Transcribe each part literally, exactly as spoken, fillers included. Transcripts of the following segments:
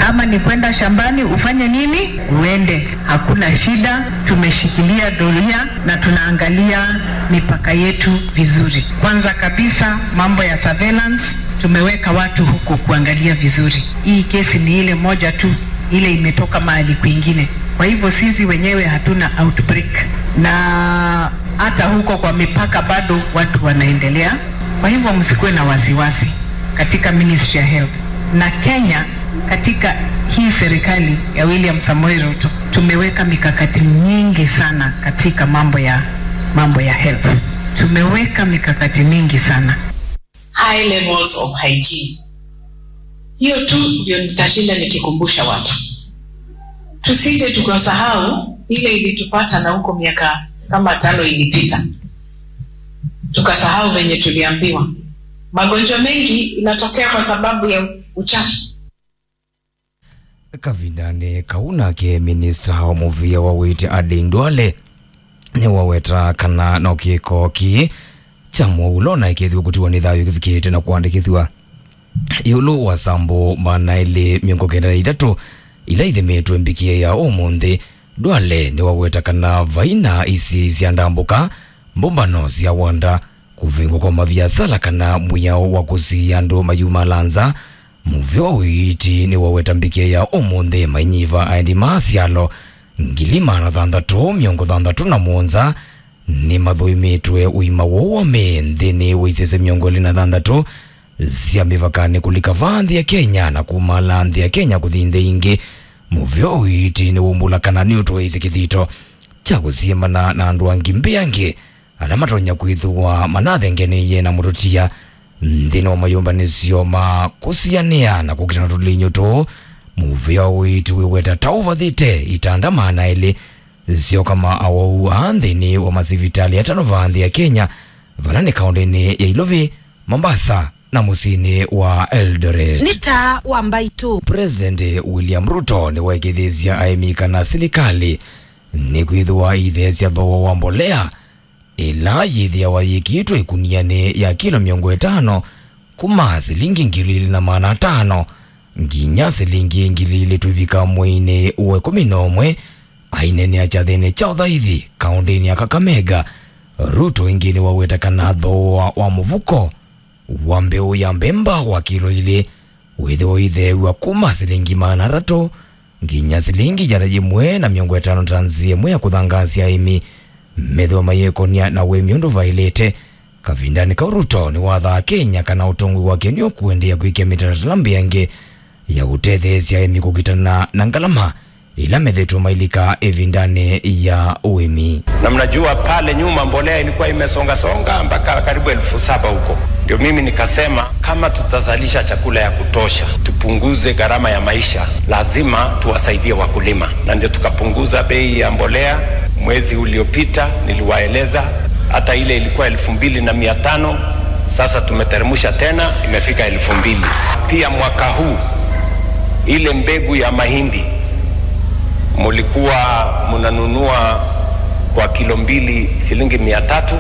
Kama ni kwenda shambani, ufanye nini? Uende. Hakuna shida, tumeshikilia doria na tunaangalia mipaka yetu vizuri. Kwanza kabisa, mambo ya surveillance, tumeweka watu huko kuangalia vizuri. Hii kesi ni ile moja tu, ile imetoka mahali kwingine. Kwa hivyo sisi wenyewe hatuna outbreak. Na hata huko kwa mipaka bado watu wanaendelea. Kwa hivyo msikuwe na wasiwasi katika Ministry ya Health. Na Kenya, katika hii serikali ya William Samoei Ruto, tumeweka mikakati nyingi sana katika mambo ya, mambo ya health. Tumeweka mikakati mingi sana. High levels of hygiene. Hiyo tu ndio nitashinda nikikumbusha watu. Tusije tukasahau ile ilitupata na huko miaka kama tano ilipita. Tukasahau venye tuliambiwa. Magonjwa mengi inatokea kwa sababu ya uchafu. Kavindanĩ kau nake, minista wa mũvĩa wa ũiiti Aden Duale nĩwaweta kana no kĩko kĩĩ kya mũulo na ĩkethĩwa kũtiwa nĩ thayũ kĩvikĩte na kũandĩkĩthw'a ĩũlũ wa sambo maana elĩ mĩongo kenda na itatũ ila ithimĩtwe mbikĩe ya ũmũnthĩ. Duale nĩwaweta kana vaina isii sya ndambũka, mbũmbano sya wanda, kũvingwa kwa maviasala kana mwĩao wa kũsiĩa andũ mayumala nza. Mũvĩa wa ũiiti nĩwaweta mbikĩe ya ũmũnthĩ mainyiva aeni ma asyalo ngili maana thanthatũ mĩongo thanthatũ na mũonza nĩmathũimĩtwe ũima woo wa mĩĩ nthĩnĩ wa isese mĩongo ĩlĩ na thanthatũ sya mĩvakanĩ kũlika vaa nthĩ ya Kenya na kumala nthĩ ya Kenya kũthi nthĩ ingĩ. Mũvĩa wa ũiiti nĩwaumbũla kana nĩũtwaĩĩsye kĩthito kya kũsiĩmana na andũ angĩ mbĩangĩ ala matonya kwĩthĩwa manathengenĩie na mũtũtia nthĩnĩ wa mayũmbanĩsyo ma kũsianĩa na kũkitana tũlinyũ tũũ. Mũvĩa wa ũiiti wĩweta ta ũvathĩte itanda maana elĩ syoka ma awau aa nthĩnĩ wa masivitalĩ atano vaa nthĩ ya Kenya, vala nĩ kaũndĩnĩ ya Ilovi, Mombasa, na mũsyĩnĩ wa Eldoret. Nĩ taa wa mbaitũ. President William Ruto nĩwaĩkĩĩthĩsya aĩmi kana silikalĩ nĩkwĩthĩwa itheesya thooa wa mbolea ĩla yĩthĩawa yĩkĩĩtwe ĩkunianĩ ya kilo mĩongo ĩtano kuma silingi ngili ilĩ na maana atano nginya silingi ngili ilĩ tũivika mweinĩ wa ĩkũmi na ũmwe. Aineenea kyathĩnĩ kya ũthaithi kaũndĩnĩ ya Kakamega, Ruto ĩngĩ nĩwaweta kana thooa wa mũvuko wa mbeũ ya mbemba wa kilo ilĩ wĩthĩwa ũitheew'a kuma silingi maana atatũ nginya silingi ĩana yĩmwe na mĩongo ĩtano ta nzĩa ĩmwe ya kũthangaasya aĩmi methĩwa mayĩkonia na ũĩmi ũndũ vaĩlĩte. Kavindanĩ kau, Ruto nĩwathaa Kenya kana ũtongoi wake nĩũkũendeea kwĩkĩa mĩtalatala mbĩange ya ũtetheesya aĩmi kũkitana na ngalama ila methĩtwe mailika ĩvindanĩ ya ũĩmi. Na mnajua pale nyuma mbolea ilikuwa imesongasonga mpaka karibu elfu saba huko. Ndio mimi nikasema kama tutazalisha chakula ya kutosha, tupunguze gharama ya maisha, lazima tuwasaidie wakulima. Na ndio tukapunguza bei ya mbolea mwezi uliopita, niliwaeleza, hata ile ilikuwa elfu mbili na mia tano, sasa tumeteremsha tena, imefika elfu mbili. Pia mwaka huu, ile mbegu ya mahindi mulikuwa munanunua kwa kilo mbili silingi mia tatu,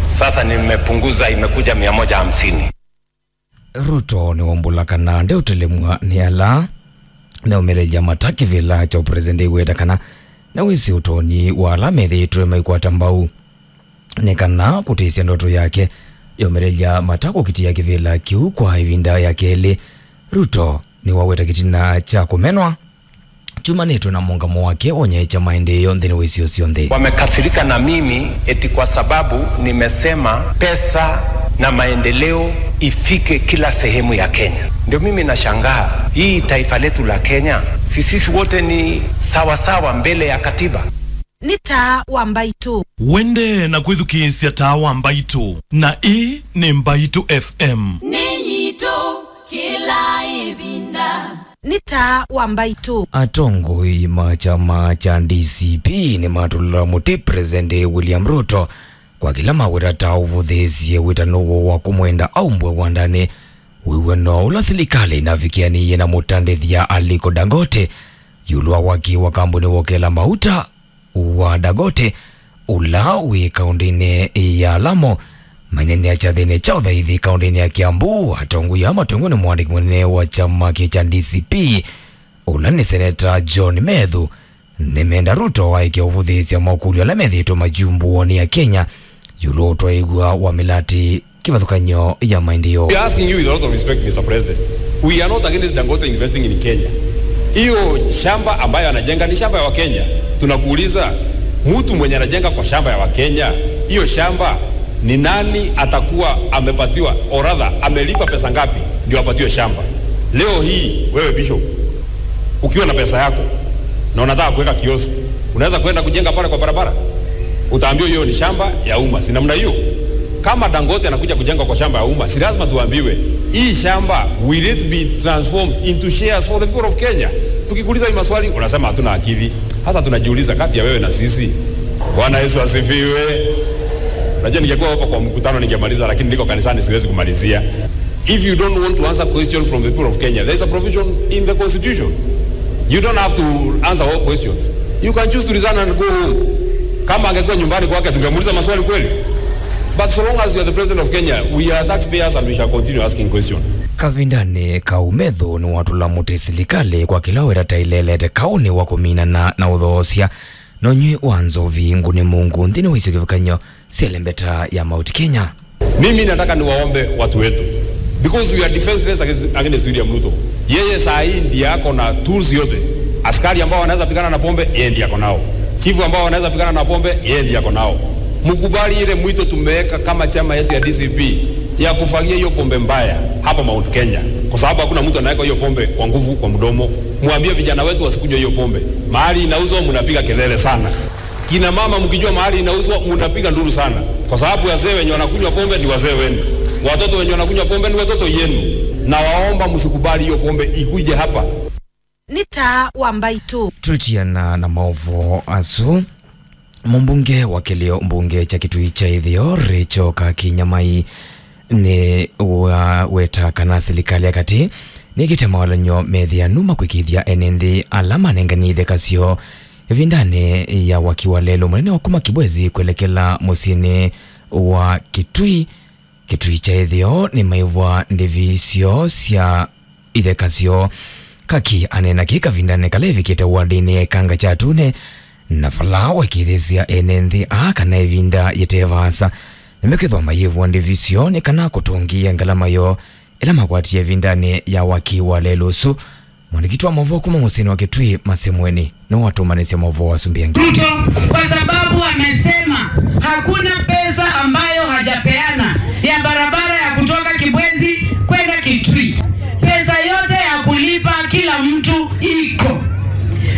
sasa nimepunguza, imekuja mia moja hamsini. Ruto nĩwaumbũla kana ndeũtelemw'a nĩ ala meũmĩlĩlya mata kĩvĩla kya ũpresident, weta kana nĩwĩsĩ ũtonyi wa ala methĩĩtwe maikwata mbau nĩ kana kũtĩsya ndoto yake ya ũmĩlĩlya mata kũkitĩa kĩvĩla kĩu kwa ĩvinda ya kelĩ. Ruto nĩwaweta kĩtina kya kũmenwa kyumanĩtwe na mũngamo wake wa ũnyaĩĩkya maendeeo nthĩnĩ wa isio syonthe. Wamekasirika na mimi eti kwa sababu nimesema pesa na maendeleo ifike kila sehemu ya Kenya. Ndio mimi nashangaa, hii taifa letu la Kenya, si sisi wote ni sawa sawa mbele ya katiba? Nĩ taa wa mbaitũ. Wende na kwĩthukĩĩsya taa wa mbaitũ, na ĩĩ nĩ Mbaitũ F M. Nĩ yitũ kĩla ĩvinda. Nĩ taa wa mbaitũ. Atongoi ma kyama kya D C P nĩmatũlũla mũtĩ President William Ruto kwa kĩla maweta ta ũvũthĩĩsye wĩtano woo wa kũmwenda aumbwe wandanĩ wĩw'ano ũla silikalĩ ĩnavikĩanĩie na mũtandĩthya Aliko Dangote ĩũlũ wa waki wa kambuni wa ũkela mauta wa Dangote, ũla wĩ kaũndĩnĩ ya Lamu. Maineenea kyathĩnĩ kya ũthaithi kaũndĩnĩ ya Kiambu, atongoi aa matongoi nĩ mwandĩki mũnene wa kyama kĩ kya D C P, Ũla nĩ Seneta John Methu, nĩmenda Ruto aĩke ũvũthĩĩsya makũlyo ala methĩĩtwe makyumbũwa nĩ Akenya ĩũlũ wa ũtwaĩw'a wa mĩlatĩ kĩvathũkany'o ya maendeeo. We are asking you with a lot of respect, Mister President. We are not against Dangote investing in Kenya. Hiyo shamba ambayo anajenga ni shamba ya Wakenya. Tunakuuliza, mtu mwenye anajenga kwa shamba ya Wakenya, hiyo shamba ni nani atakuwa amepatiwa, or rather, amelipa pesa ngapi ndio apatiwe shamba? Leo hii, wewe Bishop, ukiwa na pesa yako na unataka kuweka kioski, unaweza kwenda kujenga pale kwa barabara, utaambiwa hiyo ni shamba ya umma, si namna hiyo? Kama Dangote anakuja kujenga kwa shamba ya umma, si lazima tuambiwe hii shamba, will it be transformed into shares for the people of Kenya? Tukikuuliza hii maswali, unasema hatuna akili. Sasa tunajiuliza, kati ya wewe na sisi, Bwana Yesu asifiwe. Najua ningekuwa hapa kwa mkutano ningemaliza, lakini niko kanisani, siwezi kumalizia. If you don't want to answer question from the people of Kenya, there is a provision in the constitution. You don't have to answer all questions. You can choose to resign and go home. Kama angekuwa nyumbani kwake, tungemuuliza maswali kweli? But so long as you are the president of Kenya, we are taxpayers and we shall continue asking questions. Kavindanĩ kau, Methu nĩwatũla mũtĩ silikalĩ kwa kĩla wĩra ta ilelete kaũnĩ wa kũminana na ũthoosya na ũnywi wa nzovi ngũnĩ mũungu nthĩnĩ wa isio kĩvathũkany'o sya ĩlembeta ya Mount Kenya. Mimi nataka niwaombe watu wetu, because we are defenseless against, against William Ruto. Yeye saa hii ndiye ako na tools yote. Askari ambao wanaweza pigana na pombe, yeye ndiye ako nao. Chifu ambao wanaweza pigana na pombe, yeye ndiye ako nao. Mkubali ile mwito tumeweka kama chama yetu ya D C P ya kufagia hiyo pombe mbaya hapa Mount Kenya, kwa sababu hakuna mtu anaweka hiyo pombe kwa nguvu kwa mdomo. Mwambie vijana wetu wasikunywe hiyo pombe. Mahali inauzwa, mnapiga kelele sana. Kina mama, mkijua mahali inauzwa, mnapiga nduru sana, kwa sababu wazee wenye wanakunywa pombe ni wazee wenu, watoto wenye wanakunywa pombe ni watoto yenu. Na waomba msikubali hiyo pombe ikuje hapa. Nĩ Taa wa Mbaitũ. Tũtiana na maũvoo asu, mũmbunge wa kĩlĩo mbunge kya Kitui kya Ĩtheo, Rachel Kaki Nyamai, nĩwaweta kana silikalĩ ya katĩ nĩkĩte mawalany'o methĩanu ma kwĩkĩĩthya ene nthĩ ala manenganie itheka syoo ĩvindanĩ ya waki wa lelũ mũnene wa kuma Kibwezi kwelekela mũsyĩnĩ wa Kitui. Kitui kya Ĩtheo nĩmaĩvwa ndĩvi syoo sya itheka syoo. Kaki aneena kĩĩ kavindanĩ kala evikĩte wardinĩ ya Ĩkanga kya Atune, na vala waĩkĩĩthĩsya ene nthĩ aa kana ĩvinda yĩte vaasa nĩmekwĩthwa mayĩvwa ndĩvi syoo nĩ kana kũtũngĩĩa ngalama yoo ĩla makwatie ĩvindanĩ ya waki wa lelũ ũsu. Mwandĩki witũ wa maũvoo kuma mũsyĩnĩ wa Kitui, Masemweni, nĩwatũmanĩsye maũvoo wa Sumbĩ Angĩ. Ruto, kwa sababu amesema hakuna pesa ambayo hajapeana ya barabara ya kutoka Kibwezi kwenda Kitui. Pesa yote ya kulipa kila mtu iko.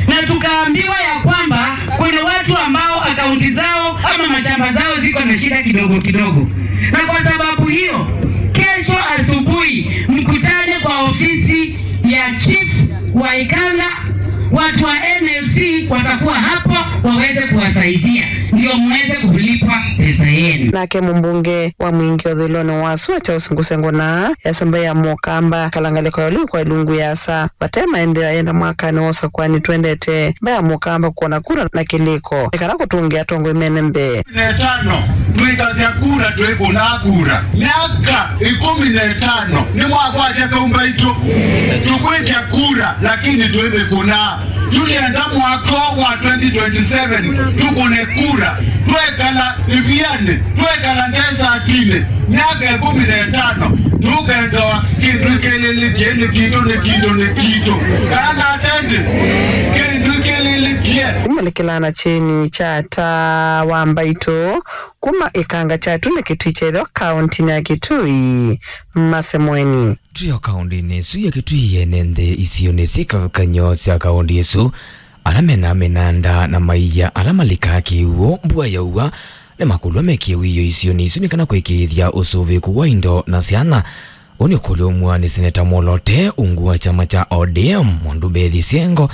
Na tukaambiwa ya kwamba kuna watu ambao akaunti zao ama mashamba zao ziko na shida kidogo kidogo. Na kwa sababu hiyo, kesho asubuhi mkutane kwa ofisi ya chief wa Ikanga, watu wa N L C watakuwa hapo waweze kuwasaidia, ndio muweze kulipwa pesa yenu. Nake mũmbunge wa Mwingi ũthũĩlonĩ wa sua Charles Ngusengũna yasamba ya Mũkamba kalangalĩko ya ũliu kwa ilungu yasa vate maendeeo yenda mwakanĩ wa ũsakwani twendete mbaya Mũkamba kuona kura na kĩlĩko nĩ kana kũtũngĩa atongoi mene mbee. Na ĩtano, twĩkasya kura, twĩkũnaa kura. Myaka ĩkũmi na ĩtano nĩmwakwatya kaumba itũ. Tũkwĩkya kura, lakini twĩmĩkũnaa. Tũlĩenda mwaka wa twenty twenty-seven tũkũne kura. Twekala ĩvianĩ, twekala ndesatinĩ, myaka ĩkũmi na ĩtano, tũkengawa kĩndũ kĩlĩlĩkye nĩ kitũ, nĩ kitũ, nĩ kitũ. Kana atende, kĩndũ kĩlĩlĩkye. Kũmũlĩkĩla na kyeni kya Taa wa Mbaitũ, kuma Ĩkanga kya Atune Kitui kya Ĩtheo, kaũntinĩ ya Kitui, Masemweni. Twĩ o kaũntinĩ ĩsu ya Kitui, ene nthĩ isionĩ syĩ kĩvathũkany'o sya kaũnti ĩsu, ala mena mĩnanda na maia ala malikaa kĩw'ũ mbua yaua, nĩmakũlw'a mekĩe wĩoo isionĩ isu nĩ kana kwĩkĩĩthya ũsũvĩĩku wa indo na syana. Ũũ nĩ ũkũlyo umw'a nĩ Seneta Mwolote ungu wa kyama kya O D M, Mwandu Mbethi Syengo,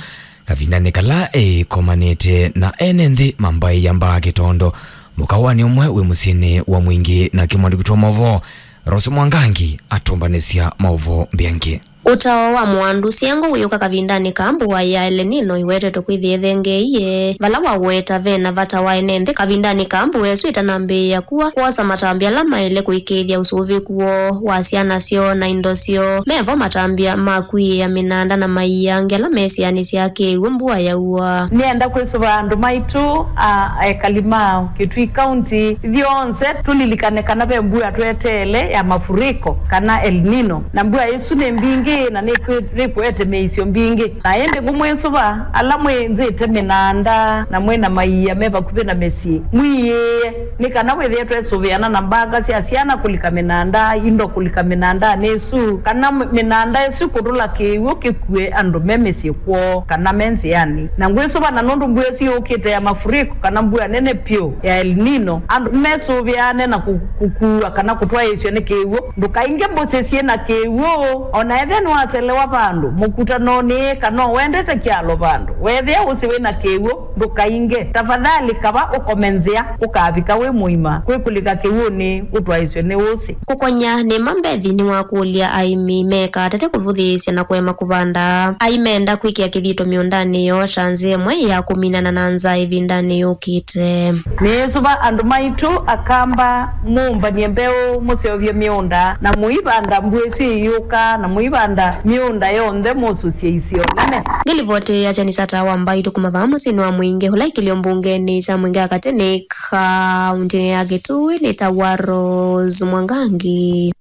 kavindanĩ kala eĩkomanĩte na ene nthĩ ma mbaĩ ya Mbaa Kĩtondo, mũkawanĩ ũmwe wĩ mũsyĩnĩ wa Mwingi, nake mwandĩki witũ wa maũvoo Rose Mwangangi atũmbanĩsya maũvoo mbĩ angĩ. Ũtao wa mũandũ syengo wĩũka kavindanĩ ka mbua ya El Nino ĩwetetwe kwĩthĩa ĩthengeeie, vala waweta ve na vata wa ene nthĩ kavindanĩ ka mbua ĩsu ĩtanambĩĩa kua, kwosa matambya ala maĩle kũĩkĩĩthya ũsũvĩku woo wa syana syoo na indo syoo. Mevo matambya ma kwiĩa mĩnanda na maia angĩ ala me sĩanĩ sya kĩw'ũ mbua yaua. Nĩenda kwĩsũva andũ maitũ, a, ekali ma Kitui County ithyonthe, tũlilikane kana ve mbua tweteele ya mafuriko kana El Nino, na mbua ĩsu nĩ mbingĩ na nĩkwĩ-, nĩkũete mĩisyo mbingĩ. Na ĩndĩ ngũmwĩsũva ala mwĩnzĩte mĩnanda na mwĩ na maia me vakuvĩ na mĩsyĩ, mwĩĩe, nĩ kana wĩthĩe twesũvĩana na mbanga sya syana kũlika mĩnanda, indo kũlika mĩnandanĩ ĩsu, kana m-, mĩnanda ĩsu kũtũla kĩw'ũ kĩkue andũ me mĩsyĩ kwoo kana me nzĩanĩ. Na ngwĩsũva na nũndũ mbua ĩsu yũkĩte ya mafuriko kana mbua nene vyũ ya El Nino, andũ mesũvĩane na kũ-, kũkuwa kana kũtwaĩĩsw'a nĩ kĩw'ũ. Ndũkainge mbũsĩ syĩ na kĩw'ũ, o na ethĩa nĩwaselewa vandũ mũkutanonĩ kana ũendete kyalo vandũ. Weethĩa ũsĩ wĩ na kĩw'ũ, ndũkainge. Tafadhali kava ũkome nzĩa, ũkavika wĩ mũima. Kwĩkũlĩka kĩw'ũnĩ ũtwaĩswe nĩ ũsĩ. Kũkonya nĩma Mbethi nĩwakũlya aĩmi mekatate kũvũthĩĩsya na kũema kũvanda. Aimenda kwĩkĩa kĩthito mĩũndanĩ yoo ta nzĩa ĩmwe ya kũminana na nzaa ĩvindanĩ yũkĩte. Nĩĩsũva andũ maitũ Akamba, mũmbany'e mbeũ, mũseũvye mĩũnda, na mũivanda mbua ĩsu ĩyũka, na mũivanda mĩũnda yonthe, mũsũsye isio nene. Ngĩlivoti ya Kyeni kya Taa wa Mbaitũ kuma vaa mũsyĩnĩ wa Mwingĩ, ũla ĩkĩlyo mbungenĩ kya Mwingĩ wa Katĩ nĩ kaũntĩnĩ ya Kitui, nĩ ta wa Rose Mwangangi.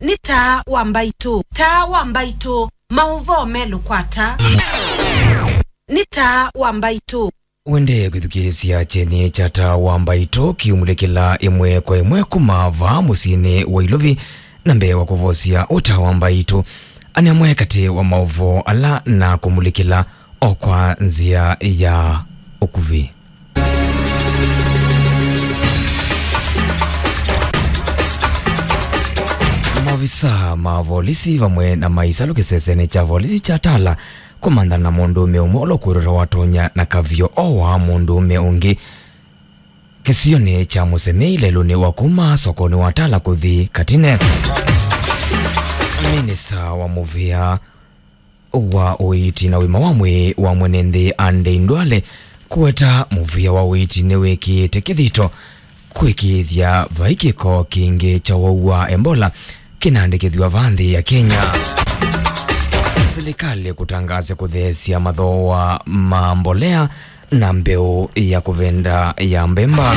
Nĩ Taa wa Mbaitũ. Taa wa Mbaitũ. Maũvoo me lũkwata. Nĩ Taa wa Mbaitũ. Wendee kwĩthukĩĩsya kyeni kya Taa wa Mbaitũ kiumulĩkĩla ĩmwe kwa ĩmwe kuma vaa mũsyĩnĩ wa Ilovi, na mbee wa kũvosya Ũtaa wa Mbaitũ, anamwe katĩ wa maũvoo ala na kũmulĩkĩla o kwa nzĩa ya ũkuvĩ. Maovisa ma volisi vamwe na maisalũ kĩsesenĩ kya volisi kya Tala kũmantha na mũndũũme ũmwe ũla ũkwĩrĩtwa watonya na kavio o wa mũndũũme ũngĩ kĩsionĩ kya Mũsemei lelũnĩ wa kuma sokonĩ wa Tala kũthi Katine. Minista wa mũvĩa wa ũiiti na ũima wa mwĩĩ wa mwene nthĩ Andei Ndwale kũweta mũvĩa wa ũiiti nĩwĩkĩĩte kĩthito kũĩkĩĩthya vai kĩko kĩngĩ kya ũwau wa Ebola kĩnaandĩkĩthw'a vaa nthĩ ya Kenya. Silikalĩ kũtangaasya kũtheesya mathooa ma mbolea na mbeũ ya kũvenda ya mbemba.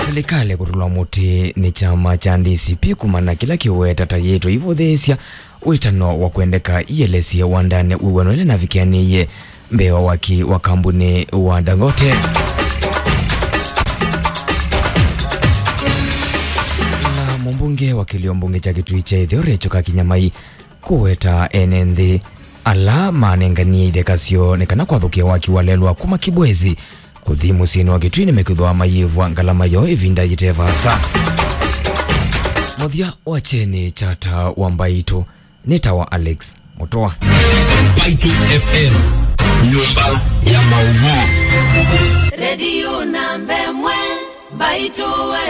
Silikalĩ kũtũlwa mũtĩ nĩ kyama kya D C P kumana na kĩla kĩweta ta yĩtwa ivũthĩĩsya wĩtano wa kwendeka ielesye wandanĩ wĩw'ano ĩla navikianĩie mbee wa waki wa kambunĩ wa Dangote. Na mũmbunge wa kĩlio mbunge kya Kitui kya Ĩtheo Rachel Kakinyamai kũweta ene nthĩ ala manenganie itheka syoo nĩ kana kwathũkĩa waki wa lelũ wa kuma Kibwezi kũthi mũsyĩnĩ wa Kitui nĩmekwĩthwa mayĩvwa ngalama yoo ĩvinda yĩte vaasa. Mũthya wa kyeni kya Taa wa Mbaitũ nĩ ta wa Alex Mũtũa. Mbaitũ F M, nyũmba ya maũvoo. Redio namba ĩmwe, Mbaitũ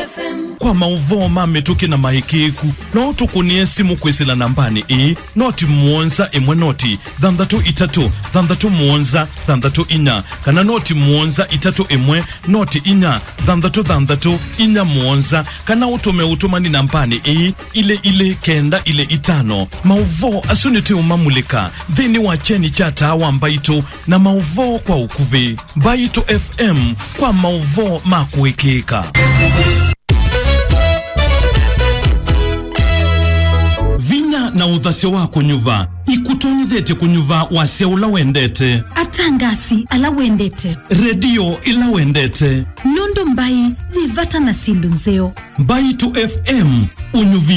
F M. Kwa maũvoo ma mĩtũkĩ na maĩkĩĩku, no ũtũkũnĩe simũ kwĩsĩla nambanĩ ĩĩ, noti mũonza ĩmwe noti thanthatũ itatũ thanthatũ mũonza thanthatũ inya, kana noti mũonza itatũ ĩmwe noti inya thanthatũ thanthatũ inya mũonza, kana ũtũme ũtũmani nambanĩ ĩĩ, ilĩ ilĩ kenda ilĩ itano. Maũvoo asu nĩtũũmamulĩka nthĩnĩ wa kyeni kya Taa wa Mbaitũ na maũvoo kwa ũkuvĩ. Mbaitũ F M kwa maũvoo ma kũĩkĩĩka. Vinya na ũthasyo wa kũnyuva ikũtonyethete kũnyuva wasya ũla wendete. Atangasi ala wendete. Redio ĩla wendete. Nũndũ mbai yĩ vata na syĩndũ nzeo. Mbaitũ F M, ũnyuvi